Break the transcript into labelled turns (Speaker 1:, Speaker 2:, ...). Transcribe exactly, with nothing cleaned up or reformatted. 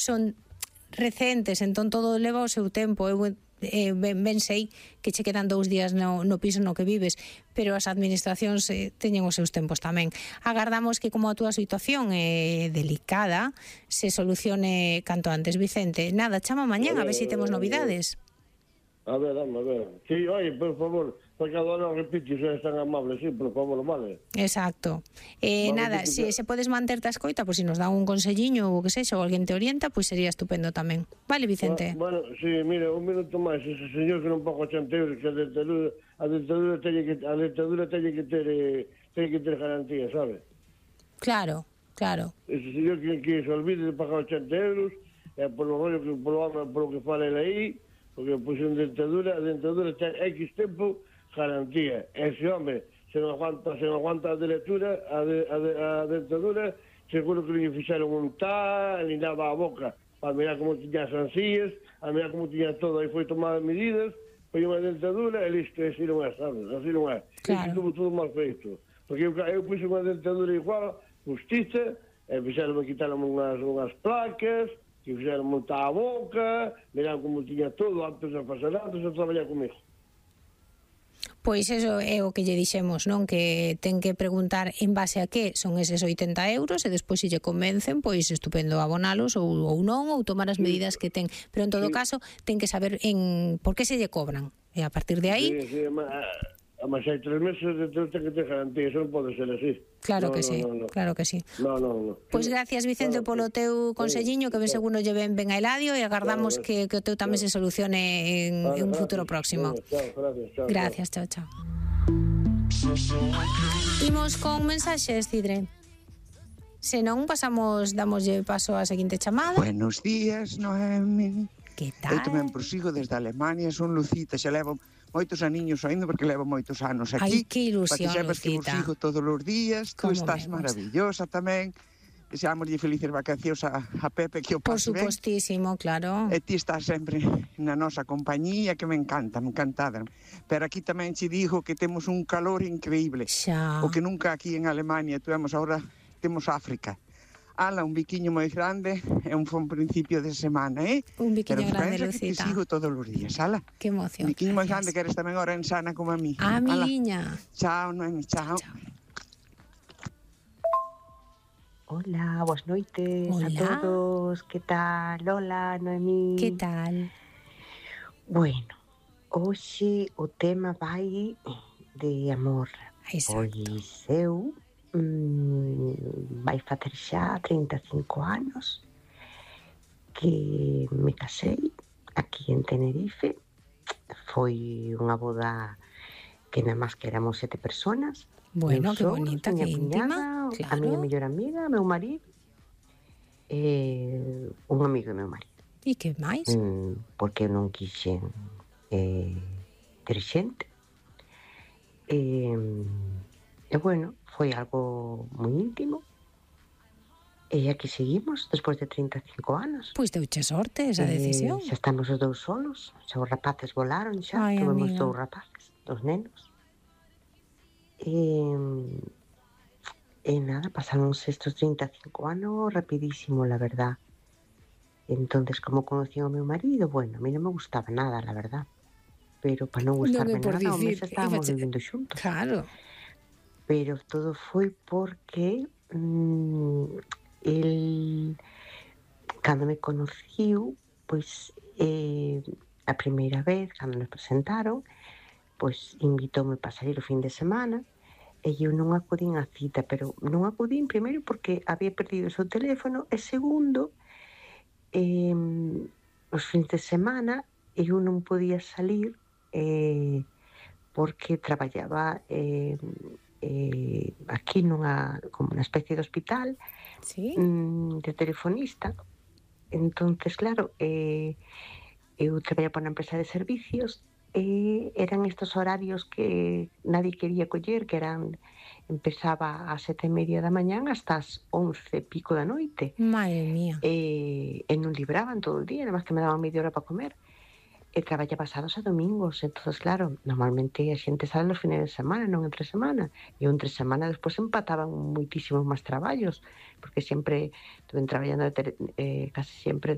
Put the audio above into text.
Speaker 1: son recentes, entón todo leva o seu tempo. Eu eh, ben, ben sei que che quedan dous días no, no piso no que vives, pero as administracións eh, teñen os seus tempos tamén. Agardamos que, como a túa situación é delicada, se solucione canto antes. Vicente, nada, chama mañán a ver se si temos novidades.
Speaker 2: A ver, dame, a ver. Sí, oye, por favor, por cada hora repite, se es tan amable, sí, por favor, vale.
Speaker 1: Exacto. Eh,
Speaker 2: Vale,
Speaker 1: nada,
Speaker 2: que
Speaker 1: se,
Speaker 2: te-
Speaker 1: se podes manterte a escoita, pois se nos dá un conselliño ou que sexa, ou alguén te orienta, pois sería estupendo tamén. Vale, Vicente?
Speaker 2: Bueno, sí, mira, un minuto máis, ese señor que non paga ochenta euros, que a dentadura, a dentadura teñe que, a dentadura teñe que ter, eh, teñe que ter garantía, sabe?
Speaker 1: Claro, claro.
Speaker 2: Ese señor que, que se olvide de pagar ochenta euros, eh, por lo rollo que, por lo, por lo que fala ele aí, porque pois en dentadura, a dentadura ten X tempo garantía. Ese home, se non aguanta, se non aguanta a lectura, a, de, a, de, a dentadura, seguro que lle fixeron un tal, ni daba a boca, para mirar como tiña as ansías, a mirar como tiña todo, aí foi tomar medidas, foi unha dentadura, e listo, así non é, sabes? Así non é.
Speaker 1: Claro.
Speaker 2: Isto tuvo todo mal feito. Porque eu, eu puse unha dentadura igual, justiza, e fixeron quitaron unhas, unhas placas, que fixeron montar a boca, miraron como tiña todo, antes de pasar antes de traballar comigo.
Speaker 1: Pois eso é o que lle dixemos, non? Que ten que preguntar en base a que son eses oitenta euros e despois se lle convencen, pois estupendo abonalos ou, ou non, ou tomar as medidas que ten. Pero en todo
Speaker 2: Sí.
Speaker 1: caso, ten que saber en por que se lle cobran. E a partir de aí,
Speaker 2: Sí, sí, mas, mas hai tres meses de ten que ter garantía, eso non pode ser así.
Speaker 1: claro
Speaker 2: No,
Speaker 1: que
Speaker 2: no,
Speaker 1: sí,
Speaker 2: no, no.
Speaker 1: claro que sí.
Speaker 2: No, no, no.
Speaker 1: Pois gracias, Vicente,
Speaker 2: Claro,
Speaker 1: polo teu conselliño, que ben
Speaker 2: claro.
Speaker 1: seguro lle ben ben a Eladio, e agardamos
Speaker 2: Claro,
Speaker 1: que, que o teu tamén
Speaker 2: claro.
Speaker 1: se solucione en,
Speaker 2: Vale,
Speaker 1: en un
Speaker 2: gracias.
Speaker 1: futuro próximo.
Speaker 2: Bueno, chao, gracias, chao,
Speaker 1: Gracias, chao, chao. Imos con mensaxes, Cidre. Se non, pasamos, damoslle paso á seguinte chamada.
Speaker 3: Buenos días, Noemi.
Speaker 1: Que
Speaker 3: Eu tamén
Speaker 1: tal?
Speaker 3: prosigo desde Alemania, son Lucita, xa levo moitos aniños ainda porque levo moitos anos aquí.
Speaker 1: Ai, que ilusión,
Speaker 3: para que sepas que vos
Speaker 1: Lucita.
Speaker 3: sigo todos os días, tú
Speaker 1: Como
Speaker 3: estás
Speaker 1: me gusta.
Speaker 3: maravillosa tamén. Deseámoslle felices vacacións a, a Pepe, que o
Speaker 1: Por
Speaker 3: pase ben.
Speaker 1: supostísimo, claro.
Speaker 3: E ti estás sempre na nosa compañía, que me encanta, me encantada. Pero aquí tamén te digo que temos un calor increíble.
Speaker 1: Xa.
Speaker 3: O que nunca aquí en Alemania tuvemos, ahora temos África. Ala, un biquiño moi grande e un bon principio de semana, eh?
Speaker 1: Un biquiño
Speaker 3: Pero
Speaker 1: grande,
Speaker 3: pensa que te
Speaker 1: Lucita.
Speaker 3: sigo todos os días, ala.
Speaker 1: Que emoción.
Speaker 3: Un biquiño moi
Speaker 1: Gracias.
Speaker 3: grande que eres tamén ahora en sana como a mí.
Speaker 1: A
Speaker 3: Ala.
Speaker 1: miña.
Speaker 3: Chao, Noemi, chao.
Speaker 1: Chao.
Speaker 4: Hola, boas noites
Speaker 1: Hola.
Speaker 4: a todos. Que tal? Hola, Noemí.
Speaker 1: Que tal?
Speaker 4: Bueno, hoxe o tema vai de amor.
Speaker 1: Exacto.
Speaker 4: Pois eu mm, vai facer xa trinta e cinco anos que me casei aquí en Tenerife. Foi unha boda que nada máis que éramos sete personas.
Speaker 1: Bueno,
Speaker 4: Meus
Speaker 1: que
Speaker 4: sogros,
Speaker 1: bonita,
Speaker 4: miña
Speaker 1: que íntima.
Speaker 4: cuñada, a
Speaker 1: Claro.
Speaker 4: miña mellor amiga, meu marido e un amigo do meu marido.
Speaker 1: E que máis?
Speaker 4: Mm, porque eu non quixen eh, ter xente. E, e bueno, foi algo moi íntimo. E aquí seguimos, despois de trinta e cinco anos.
Speaker 1: Pois deuche sorte esa decisión.
Speaker 4: Eh, xa estamos os dous solos, xa os rapaces volaron xa,
Speaker 1: Ai,
Speaker 4: tuvemos
Speaker 1: amiga.
Speaker 4: dous rapaces, dos nenos. E, e nada, pasaron estes trinta e cinco anos rapidísimo, la verdad. Entonces, como conocí ao meu marido, bueno, a mí non me gustaba nada, la verdad. Pero para non
Speaker 1: Non
Speaker 4: gustarme
Speaker 1: é por
Speaker 4: nada, ao mes
Speaker 1: dicir,
Speaker 4: estábamos
Speaker 1: ibache-
Speaker 4: vivindo xuntos.
Speaker 1: Claro.
Speaker 4: Pero todo foi porque mm, el, cando me conociu, pois eh, a primeira vez, cando nos presentaron, pois invitoume para salir o fin de semana e eu non acudín á cita, pero non acudín primeiro porque había perdido o seu teléfono e segundo, eh, os fins de semana eu non podía salir eh, porque traballaba eh, eh, aquí nunha como unha especie de hospital
Speaker 1: Sí.
Speaker 4: mm, de telefonista. Entonces, claro, eh, eu traballaba para unha empresa de servicios e eran estes horarios que nadie quería coller, que eran empezaba ás sete e media da mañán hasta as once pico da noite.
Speaker 1: Madre mía.
Speaker 4: E, e non libraban todo o día, nada máis que me daban media hora para comer. E traballaba sábados e domingos, entonces claro, normalmente a xente sale nos fines de semana, non entre semana, e entre semana despois empataban moitísimos máis traballos, porque sempre estuve traballando eh, casi sempre